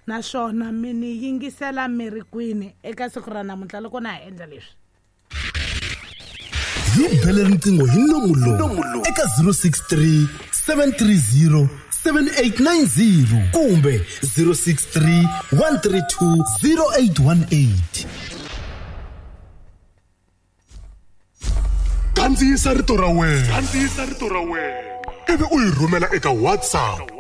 Naswona mi ni yingisela mi ri kwini eka siku ra namuntlha loko na ha endla leswi. Hi bele riqingho hi nomu lowu eka 063 730 7890 kumbe 063 132 0818. Kandziyisa rito ra wena. Kandziyisa rito ra wena. Ivi u yi rhumela eka WhatsApp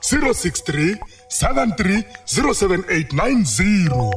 063 73 07890.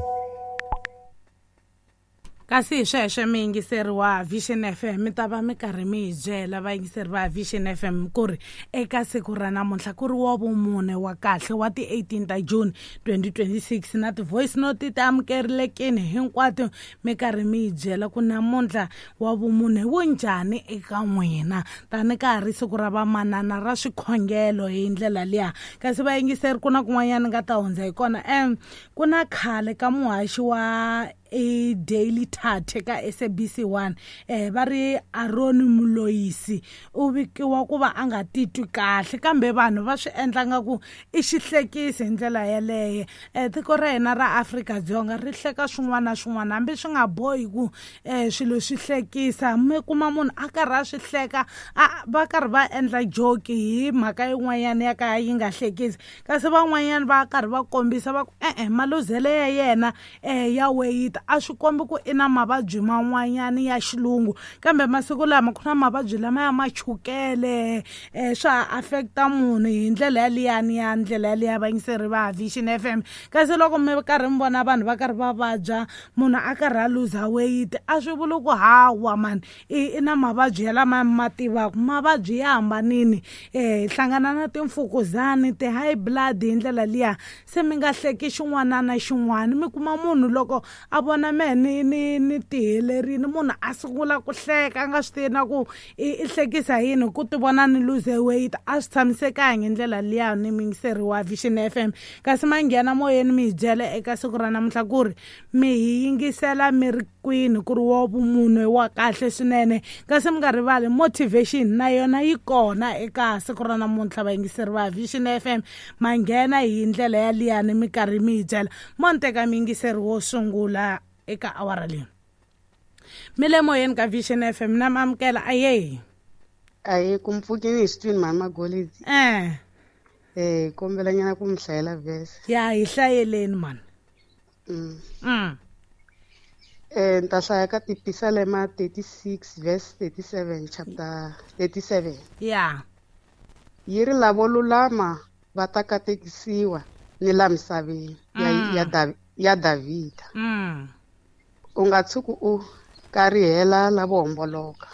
Kasi hi sweswo miyingiseri wa Vision FM, mi ta va mi karhi mi hi byela vayingiseri va Vision FM ku ri eka siku ra namuntlha ku ri wa vumune wa kahle wa ti-18 ta June 2026, na ti-voice note ti amukerilekini hinkwato, mi karhi mi hi byela ku namuntlha wa vumune wu njhani eka n'wina, tani ka ha ri siku ra vamanana ra swikhongelo hi ndlela liya. Kasi vayingiseri, ku na kun'wanyana nga ta hundza hi kona. Ku na khale ka muhaxi wa i Daily Thetha ka SABC 1, va ri Aaron Moloisi u vikiwa ku va a nga titwi kahle, kambe vanhu va swi endla nga ku i xihlekisi hi ndlela yeleyo. Tiko ra hina ra Afrika-Dzonga ri hleka swin'wana na swin'wana, hambi swi nga bohi ku swilo swi hlekisa. Mi kuma munhu a karhi a swi hleka, a va karhi va endla joke hi mhaka yin'wanyana ya ka yi nga hlekisi, kasi van'wanyana va karhi va kombisa va ku e-e, maluzele ya yena ya weyita a swi kombi ku i na mavabyi man'wanyana ya xilungu. Kambe masiku lama ku na mavabyi lama ya machukele, swa affecta munhu hi ndlela yaliyani ya ndlela yaliya, vayingiseri va Vision FM. Kasi loko mi karhi mi vona vanhu va karhi va vabya, munhu a karhi a luza weight, a swi vuli ku hawa mani i na mavabyi ya lama mi ma tivaka. Mavabyi ya hambanini, hi hlangana na timfukuzani, ti-high blood hi ndlela liya. Se mi nga hleki xin'wana na xin'wana. Mi kuma munhu loko a vona mehe ni tihelerini, munhu a sungula ku hleka a nga swi tivi na ku i hlekisa yini, ku ti vona ni lose weight. A swi tshamisekangi hi ndlela liya, ni muyingiseri wa Vision FM. Kasi ma nghena moyeni mi hi byela eka siku ra namuntlha ku ri mi hi yingisela mi ri kwini, ku ri wa vumunhu wa kahle swinene. Kasi mi nga rivali motivation na yona yi kona eka siku ra namuntlha, vayingiseri va Vision FM. Ma nghena hi ndlela ya liyani mi karhi mi hi byela. Mo ni teka muyingiseri wo sungula eka awara leyi. Mi le moyeni ka Vision FM, na mi amukela. Aye. Aye, ku mpfukini hi xitwini, mhani Magolidi. Kombela nyana ku mi hlayela verse. Ya, hi hlayeleni mani. Ni ta hlaya ka Tipisalema 36 verse 37, chapter 37. Yi ri lavo lulama va ta katekisiwa ni la misaveni ya Davhida. U nga tshuki u karihela lavo homboloka.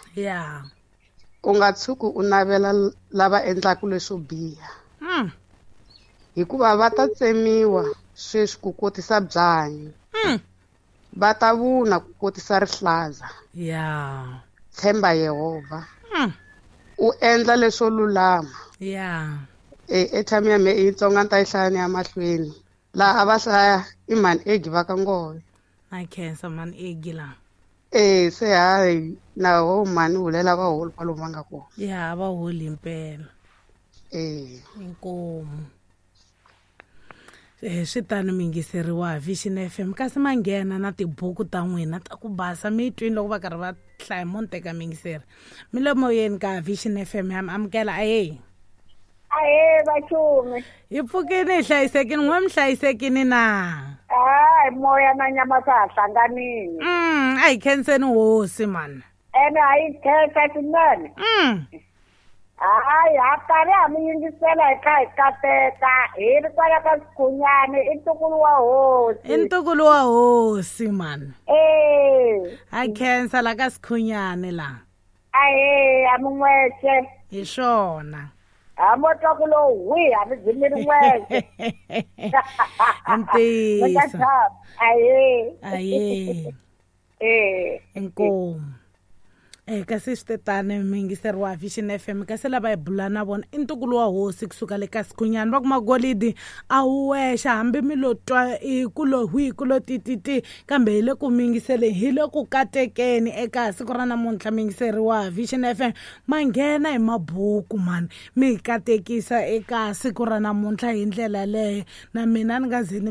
U nga tshuki u navela lava endlaka leswo biha. Hikuva va ta tsemiwa sweswi ku kotisa byanyi. Va ta vuna ku kotisa rihlaza. Tshemba Yehovha. U endla leswo lulama. Airtime ya mehe i yitsongo, a ni ta yi hlaya ni ya mahlweni. Laha a va hlaya i mhani Egi va ka Ngove. Na khensa mhani Egi la. Se hayi na ho mhani hulela va holi kwalomu va nga kona. Ya, va holi impela. Inkomu. Swi tano miyingiseriwa Vision FM. Kasi ma nghena na tibuku ta n'wina ta ku basa, mi yi twini loko va karhi va hlaya. Mo ni teka miyingiseri, mi le moyeni ka Vision FM, ya mi amukela. Aye. Ahe, vachumi. Hi pfukini, hi hlayisekini. N'we mi hlayisekini na? Hayi, moya na nyama swa ha hlanganini. A hi khenseni hosi mani. Ene a yi khensa swinene. Hayi, ha karhi ha mi yingisela hi kha hi kateka hi ri kwala ka Sikhunyani. I ntukulu wa hosi. I ntukulu wa hosi mani. Ha khensa la ka Sikhunyani la. Ahe, a mi n'wexe. Hi swona. Ha mo twa ku lo hwi, a mi byi mi ri n'wexe. Ntiyiso. Ahe. Aye. Inkomu. Kasi swi tetani, muyingiseri wa Vision FM. Kasi lava hi bula na vona i ntukulu wa hosi kusuka le ka Sikhunyani. Va kuma golidi a wu wexa, hambi mi lo twa i ku lo hwi, ku lo tititi, kambe hi le ku miyingiseleni, hi le ku katekeni eka siku ra namuntlha. Muyingiseri wa Vision FM, ma nghena hi mabuku mani, mi hi katekisa eka siku ra namuntlha hi ndlela leyo. Na mina ni nga ze ni